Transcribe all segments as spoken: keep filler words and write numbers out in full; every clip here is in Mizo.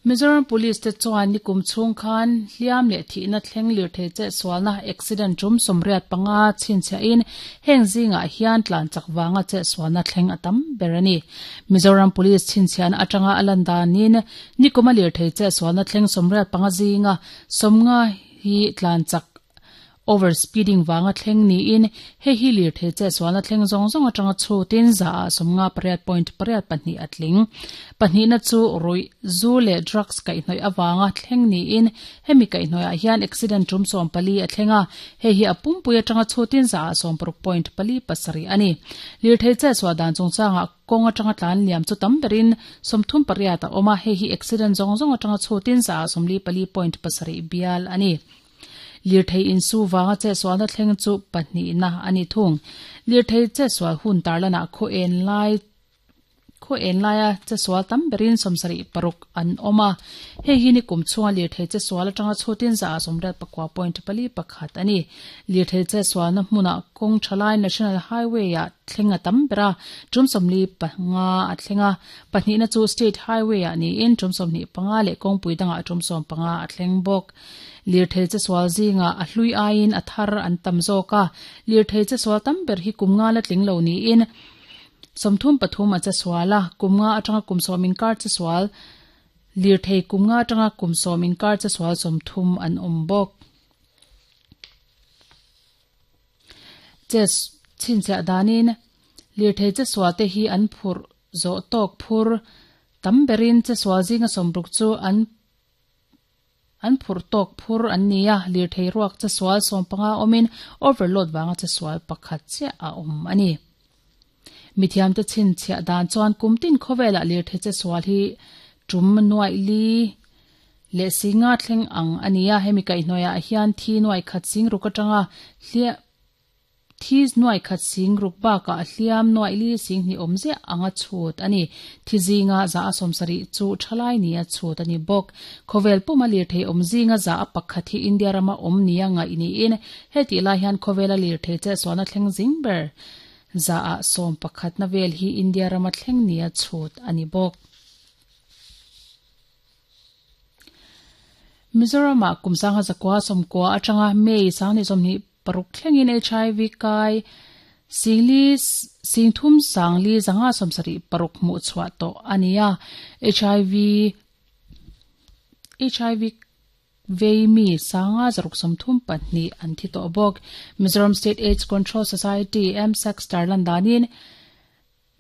Mizoram Police te chuan nikum chhung khan hliam leh thihna thleng lirthei che sualna accident tum sawmriat panga chhinchhiahin heng zingah hian tlan chak wanga che sualna thleng a tam ber ani. Mizoram Police chhinchhiahna atanga a lan danin nikuma lirthei che sualna thleng sawmriat panga zinga sawmnga hi tlan chak over speeding wanga thleng niin he hi lirthei che sualna thleng zawng zawng atanga chutin za a sawmnga pariat point pariat pahnih a tling. Pahnihna chu rui zu leh drugs kaihhnawih awanga thleng niin hemi kaihhnawihah hian accident tum sawm pali a thlenga he hi a pumpui atanga chutin za a sawm paruk point pali pasarih ani. Lirthei che sual dan chungchangah kawng atanga tlan liam chu tam berin sawmthum pariat a awm a he hi accident zawng zawng atanga chutin za a sawmli pali point pasarih bial ani. Lirthei insu wanga che sualna thleng chu pahnihna ani thung. Lirthei che sual hun tarlana khaw en lai khaw en laia che sual tam berin sawmsarih paruk an awm a hei hi nikum chhunga lirthei che sual atanga chutin za a sawmriat pakua point pali pakhat ani. Lirthei che sualna hmunah kawng thalai National Highway ah thleng a tam bera tum sawmli panga a thlenga pahnihna chu State Highway ah niin tum sawmhnih panga leh kawngpui dangah tum sawm panga a thleng bawk. Lirthei che sual zinga a hlui aiin a thar an tam zawk a lirthei che sual tam ber hi kum nga la tling lo niin sawmthum pathum a che sual a kum nga atanga kum sawm inkar che sual lirthei kum nga atanga kum sawm inkar che sual sawmthum an awm bawk. Che chhinchhiah danin lirthei che sual te hi an phurh zawh tawk phur tam berin che sual zinga sawmruk chu an an phurh tawk phur an ni a lirthei ruak che sual sawm panga awmin overload wanga che sual pakhat chiah a awm ani. Mithiam te chhinchhiah dan chuan kumtin khawvelah lirthei che sual hi tum nuai li leh singa thleng ang ani a hemi kaihhnawihah hian thi nuai khat sing ruk atanga hliah thi nuai khat sing ruk bakah hliam nuai li sing hnih awm ziah anga chhut ani. Thi zinga za a sawmsarih chu thalai ni a chhut ani bawk. Khawvel puma lirthei awm zinga za a pakhat hi India rama awm nia ngaih niin heti lai hian khawvela lirthei che sualna thleng zing ber za a sawm pakhat na vel hi India rama thleng nia chhut ani bawk. Mizoram ah kum sangha zakua sawmkua atanga May sangni sawmhnih paruk thlengin H I V kai singli singthum sangli zanga sawmsarih paruk hmuh chhuah tawh ania. H I V H I V vei mi sanga zaruk sawmthum pahnih an thi tawh bawk. Mizoram State AIDS Control Society M S A C tarlan danin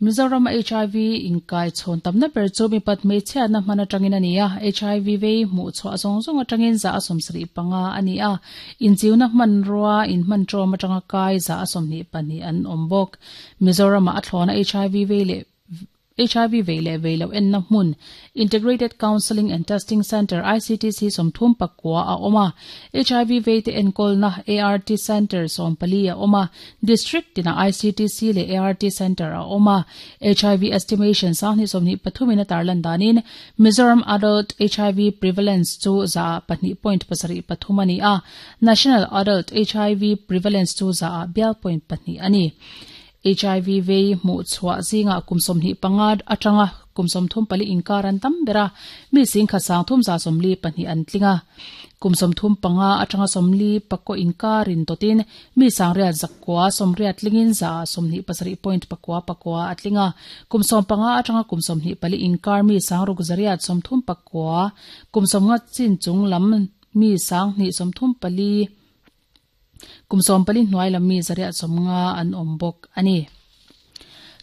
Mizoram H I V inkai chhawn tamna ber chu mipat hmeichhiatna hman atangin ani a H I V vei hmuh chhuah zawng zawng atangin za a sawmsarih panga ani a inchiuna hman rua in hman tawm atanga kai za a sawmhnih pahnih an awm bawk. Mizoram ah a thlawna H I V vei leh H I V vei leh vei lo enna hmun Integrated Counseling and Testing Center I C T C sawmthum pakua a awm a H I V vei te enkawlna A R T Center sawm pali a awm a District tina I C T C leh A R T Center a awm a H I V estimation sanghnih sawmhnih pathumin a tarlan danin Mizoram Adult H I V Prevalence chu za pahnih point pasarih pathum ani a National Adult H I V Prevalence chu za bial point pahnih ani. H I V vei hmuh chhuah zinga kum sawmhnih panga atanga kum sawmthum pali inkar an tam bera mi sing khat sangthum za sawmli pahnih an tlinga kum sawmthum panga atanga sawmli pakua inkarin totin mi sangriat zakua sawmriat tlingin za sawmhnih pasarih point pakua pakua a tlinga kum sawm panga atanga kum sawmhnih pali inkar mi sangruk zariat sawmthum pakua kum sawmnga chin chung lam mi sanghnih sawmthum pali kum sawm pali hnuai lam mi zariat sawmnga an awm bawk ani.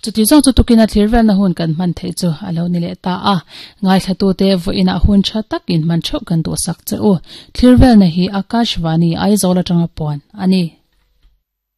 Chuti zawng chu tukina thlir velna hun kan hman theih chu a lo ni leh ta a ngaithla te vawiinah hun tha takin hman theuh kan duh sak che u. Thlir velna hi Akashvani Aizawl atanga puan ani.